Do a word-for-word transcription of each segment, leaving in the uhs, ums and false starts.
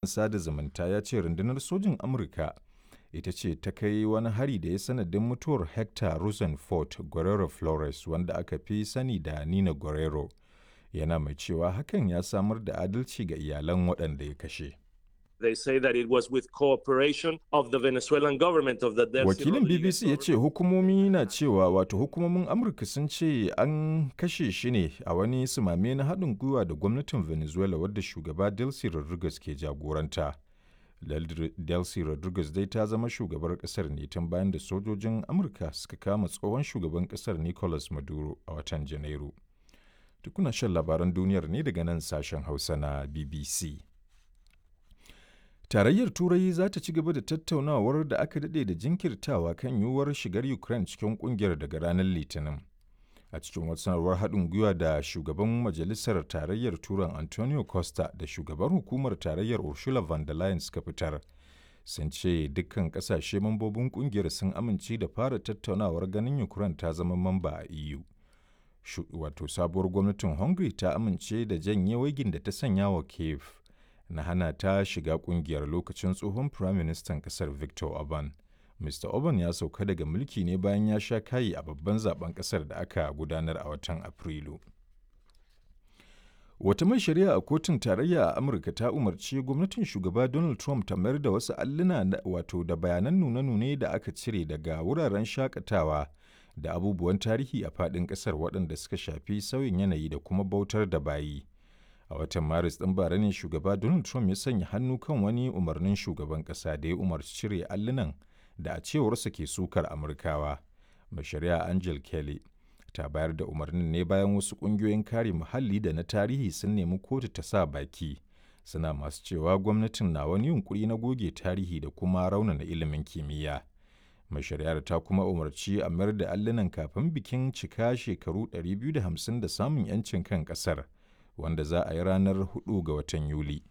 Sada zumunta ya ce Rundunar Sojin Amurka ita ce ta kai wani hari da ya yi sanadin mutuwar Hector Rosenfort Guerrero Flores, wanda aka fi sani da Nina Guerrero, yana mai cewa hakan ya samar da adalci ga iyalan waɗanda ya kashe. They say that it was with cooperation of the Venezuelan government of the Delcy Wakilin Rodriguez B B C ya ce government. hukumomi na cewa wato hukumomin Amurka sun ce an kashe shi ne a wani sumame na haɗin gwiwa da gwamnatin Venezuela wadda shugaba Delcy Rodriguez ke jagoranta. Del- Delcy Rodriguez dai ta zama shugabar ƙasar ne tun bayan da sojojin Amurka suka kama tsohon shugaban ƙasar Nicolas Maduro a watan Janairu. Tukuna shan labaran duniyar ne daga nan sashen Hausa na B B C. Tarayyar Turai za ta ci gaba da tattaunawar da aka daɗe da jinkirtawa kan yiwuwar shigar Ukraine cikin ƙungiyar daga ranar Litinin. A cikin wata sanarwar haɗin gwiwa da shugaban Majalisar Tarayyar Turan Antonio Costa da shugaban hukumar Tarayyar Ursula von der Leyen suka fitar, sun ce dukkan ƙasashe mambobin ƙungiyar sun amince da fara tattaunawar ganin Ukraine ta zama mamba a E U. Shu- Wato sabuwar gwamnatin Hungary ta amince da janye waigin da ta sanya wa Kiev na hana ta shiga kungiyar lokacin tsohon firaministan kasar Viktor Orban. Mister Orban ya sauka daga mulki ne bayan ya sha kayi a babban zaben kasar da aka gudanar a watan Afrilu. Wata mai shari'a a kotun tarayya a Amurka ta umarci gwamnatin shugaba Donald Trump ta mayar da wasu alluna na- wato da bayanan nune-nune da aka cire daga wuraren shakatawa da abubuwan tarihi a faɗin ƙasar waɗanda suka shafi sauyin yanayi da kuma bautar da bayi. A watan Maris ɗin bara ne shugaba Donald Trump ya sanya hannu kan wani umarnin shugaban ƙasa da ya umarci cire allunan da a cewarsa ke sukar Amurkawa. Mai shari'a Angel Kelly ta bayar da umarnin ne bayan wasu ƙungiyoyin kare muhalli da na tarihi sun nemi kotu ta sa baki. Suna masu cewa gwamnatin na wani yunƙuri na goge tarihi da kuma raunana ilimin kimiyya. Mai shari'ar ta kuma umarci a mayar da allunan kafin bikin cika shekaru ɗari biyu da hamsin da samun 'yancin kan ƙasar, wanda za a yi ranar huɗu ga watan Yuli.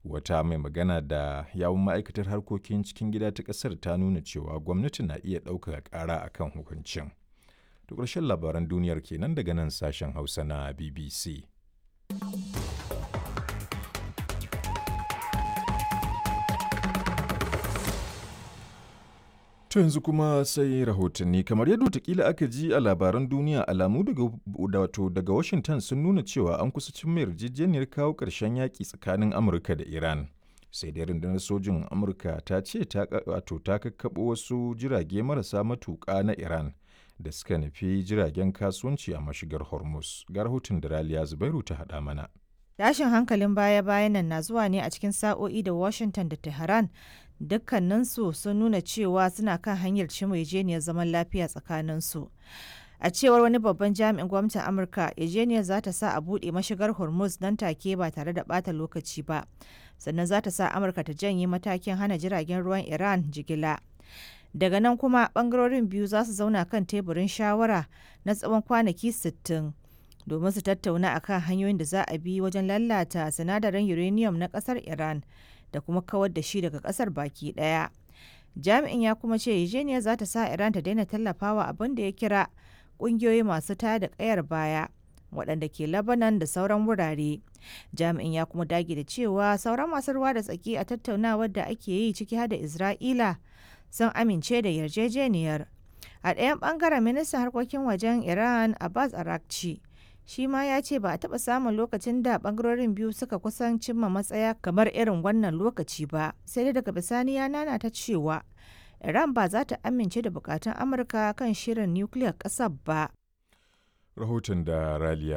Wata mai magana da yawun ma'aikatar harkokin cikin gida ta ƙasar ta nuna cewa gwamnati na iya ɗaukaka ƙara a kan hukuncin. To ƙarshen labaran duniyar kenan daga nan sashen Hausa na B B C. To yanzu kuma sai rahotanni kamar yadda watakila aka ji a labaran duniya, alamu daga wato daga Washington sun nuna cewa an kusa cimma yarjejeniyar kawo ƙarshen yaƙi tsakanin Amurka da Iran. Sai dai rundunar sojin Amurka ta ce ta wato ta kakkaɓo wasu jirage marasa matuƙa na Iran da suka nufi jiragen kasuwanci a mashigar Hormuz. Ga rahoton da Raliya Zubairu ta haɗa mana. Tashin hankalin baya-bayan nan na zuwa ne a cikin sa'o'i da Washington da Tehran dukkaninsu sun nuna cewa suna kan hanyar cimma yarjejeniyar zaman lafiya tsakaninsu. A cewar wani babban jami'in gwamnatin Amurka, yarjejeniyar za ta sa a buɗe mashigar Hormuz nan take ba tare da ɓata lokaci ba. Sannan za ta sa Amurka ta janye matakin hana jiragen ruwan Iran jigila. Daga nan kuma bangarorin biyu za su zauna kan teburin shawara na tsawon kwanaki sittin domin su tattauna akan hanyoyin da za a bi wajen lalata sinadarin uranium na kasar Iran da kuma kawar da shi daga kasar baki daya. Jami'in ya kuma ce yarjejeniyar za ta sa Iran ta daina tallafawa abin da ya kira kungiyoyi masu tayar da kayar baya waɗanda ke Lebanon da sauran wurare. Jami'in ya kuma dage da cewa sauran masu ruwa da tsaki a tattaunawar da ake yi, ciki har da Isra'ila, sun amince da yarjejeniyar. A ɗayan ɓangaren, ministan harkokin wajen Iran Abbas Arakci shi ma ya ce ba a taɓa samun lokacin da ɓangarorin biyu suka kusan cimma matsaya kamar irin wannan lokaci ba, sai dai daga bisani ya nana ta cewa Iran ba za ta amince da bukatun Amurka kan shirin nukiliyar ƙasar ba. Rahoton da Raliya